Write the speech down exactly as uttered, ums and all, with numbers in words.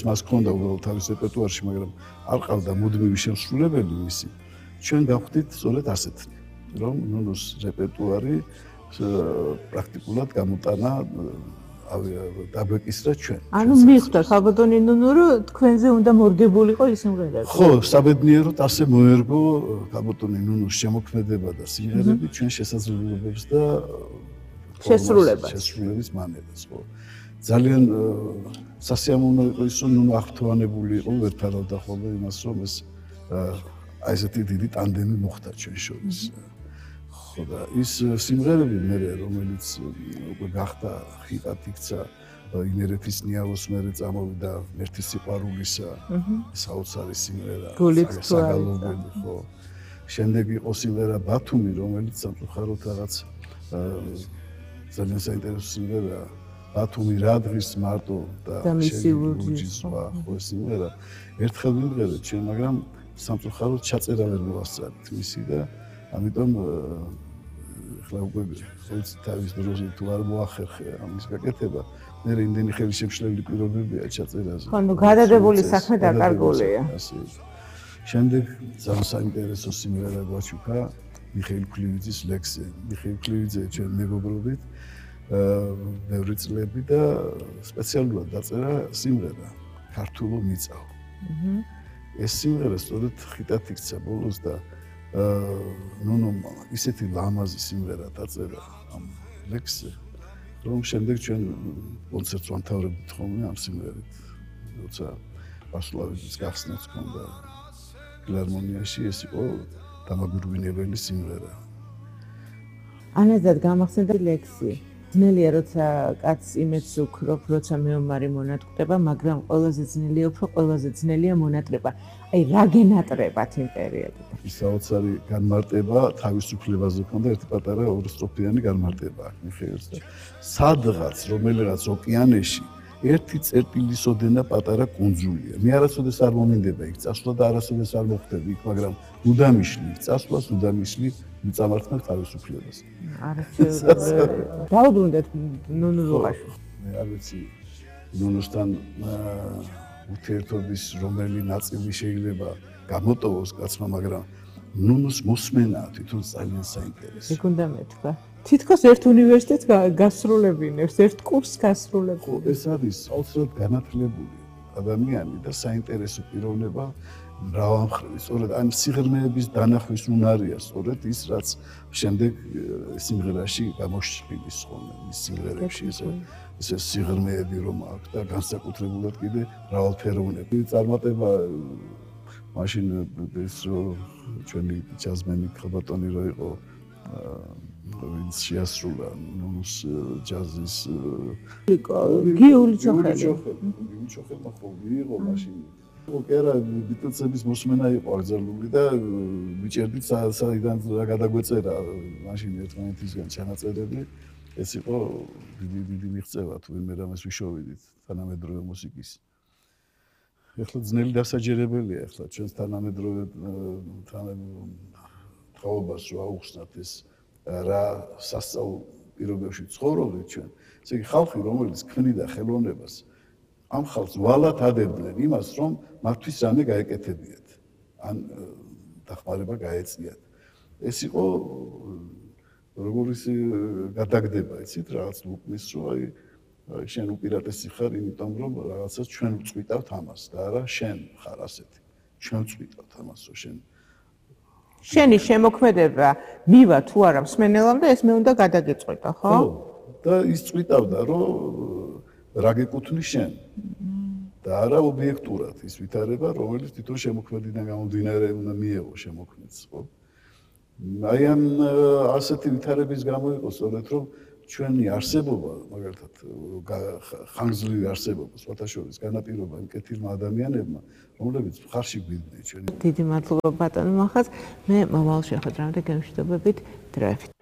მას ქონდა უბრალოდ თავის რეპერტუარში, მაგრამ არ ყავდა მუდმივი შემსრულებელი მისი. ჩვენ გავხდით სწორედ ასეთი, რომ ნუნუს რეპერტუარი პრაქტიკულად გამოტანა დაგვეკისრა ჩვენ. ანუ მიხვდა ხალბატონი ნუნუ, რომ თქვენზე უნდა მორგებულიყო ის სიმღერები. ხო, საბედნიეროდ ასე მოერგო ხალბატონი ნუნუს შემოქმედება და სიმღერები ჩვენ შესაძლებლობებს და შესრულებას. შესრულების მანერას, ხო. ძალიან სასიამოვნო იყო ის, რომ ნუნუ აღფრთოვანებული იყო, ვერ ფარავდა ხოლმე იმას, რომ ეს აი ესეთი დიდი ტანდემი მოხდა ჩვენ შორის. ხო და ის სიმღერები მე რომელიც უკვე გახდა ხიტად იქცა იმერეთის ნიავოს მერე წამოვიდა მერეთის სიყვარულისა საოცარი სიმღერა საგალობელი ხო შემდეგ იყო სიმღერა ბათუმი რომელიც სამწუხაროდ რაღაც ძალიან საინტერესო სიმღერა ბათუმი რა დღის მარტო და შემიძლია ხო სიმღერა ერთხელ მიმღერეთ ჩვენ მაგრამ სამწუხაროდ ჩაწერა ვერ მოვასწრეთ მისი და ამიტომ ხლა უკვე ხელს თავის დროზე თუ არ მოახერხე ამის გაკეთება მე იმდენი ხელშემშლელი პირობებია ჩაწერაზე. ხო, ნუ გადადებული საქმე დაკარგულია. შემდეგ ძალიან საინტერესო სიმღერა გვაჩუქა მიხეილ ქლივიძის ლექსი. მიხეილ ქლივიძე ჩვენ მეგობრობით ბევრი წლები და სპეციალურად დაწერა სიმღერა ქართულო მიწაო. ეს სიმღერა სწორედ ხიტად იქცა ბოლოს და ნუნუ ისეთი ლამაზი სიმღერა დაწერა ამ ლექსზე რომ შემდეგ ჩვენ კონცერტს ვამთავრებთ ხოლმე ამ სიმღერით როცა ვასლავიძის გახსნაც ჰქონდა ფილარმონიაში ეს იყო დამაგვირგვინებელი სიმღერა ანაზად გამახსენდა ლექსი ძნელია როცა კაცს იმედს უქრობ როცა მეომარი მონატყდება მაგრამ ყველაზე ძნელია უფრო ყველაზე ძნელია მონატრება აი რა გენატრებათ იმ პერიოდში ის საოცარი განმარტება თავისუფლებაზე ჰქონდა ერთი პატარა ორსტროფიანი განმარტება აქ მიხეილს და სადღაც რომელიღაც ოკეანეში ერთი წერტილის ოდენა პატარა კუნძულია მე არასოდეს არ მომინდება იქ წასვლა და არასოდეს არ მოხდები იქ მაგრამ უდამიშლი წასვლას უდამიშლი მიწამართმევ თავისუფლებას არასოდეს დაუბრუნდეთ ნუნუზუღაში მე არ ვიცი ნუნუსთან ურთიერთობის რომელი ნაწილი შეიძლება გამოტოვოს კაცმა მაგრამ ნუნუს მოსმენა თვითონ ძალიან საინტერესოა იქ უნდა მეთქვა თითქოს ერთ უნივერსიტეტს გასრულებინებს ერთ კურსს გასრულებინებს ეს არის საოცრად განათლებული ადამიანი და საინტერესო პიროვნება მრავალმხრივი სწორედ ამ სიღრმეების დანახვის უნარია სწორედ ის რაც შემდეგ სიმღერაში გამოშფილის ხოლმე ის სიმღერებში ესე ეს სიღრმეები რომ აქვს და განსაკუთრებულად კიდე მრავალფეროვნები წარმატება მაშინ ეს ჩვენი ჯაზმენი ხალბატონი რო იყო ვინც შეასრულა ნუნუს ჯაზის გიული ჩოხელი გიული ჩოხელმა ხო მიიღო მაშინ ოკერა ბიტლსების მოსმენა იყო აკრძალული და მიჭერდით საიდან რა გადაგვეწერა მაშინ ერთმანეთისგან ჩანაწერები ეს იყო დიდი დიდი მიღწევა თუ ვინმე რამეს ვიშოვიდით თანამედროვე მუსიკის ეხლა ძნელი დასაჯერებელია ეხლა ჩვენს თანამედროვე თაობას რო აუხსნათ ეს რა სასწაულ პირობებში ცხოვრობთ ჩვენ ესე იგი ხალხი რომელიც ქმნიდა ხელოვნებას ამ ხალხს ვალად ადებდნენ იმას რომ მათთვის რამე გაეკეთებიათ ან დახმარება გაეწიათ ეს იყო როგორიც გადაგდება იცით რაღაც უკნის რომ აი შენ უპირატესი ხარ იმიტომ რომ რაღაცას ჩვენ ვწვიტავთ ამას და არა შენ ხარ ასეთი ჩვენ ვწვიტავთ ამას რომ შენ შენი შემოქმედება მივა თუ არა მსმენელამდე ეს მე უნდა გადაგეწყვიტო ხო? ხო და ის წვიტავდა რომ რა გეკუთვნის შენ და არა ობიექტურად ის ვითარება რომელიც თვითონ შემოქმედიდან გამომდინარე უნდა მიეღო შემოქმედს ხო? აი ამ ასეთი ვითარების გამო იყო სწორედ რომ ჩვენი არსებობა მაგალითად ხანგრძლივი არსებობა სხვათა შორის განაპირობა იმ კეთილმა ადამიანებმა რომლებიც მხარში გვიდნენ ჩვენი დიდი მადლობა ბატონო მახას მე მომავალ შეხვედრამდე გემშვიდობებით დროებით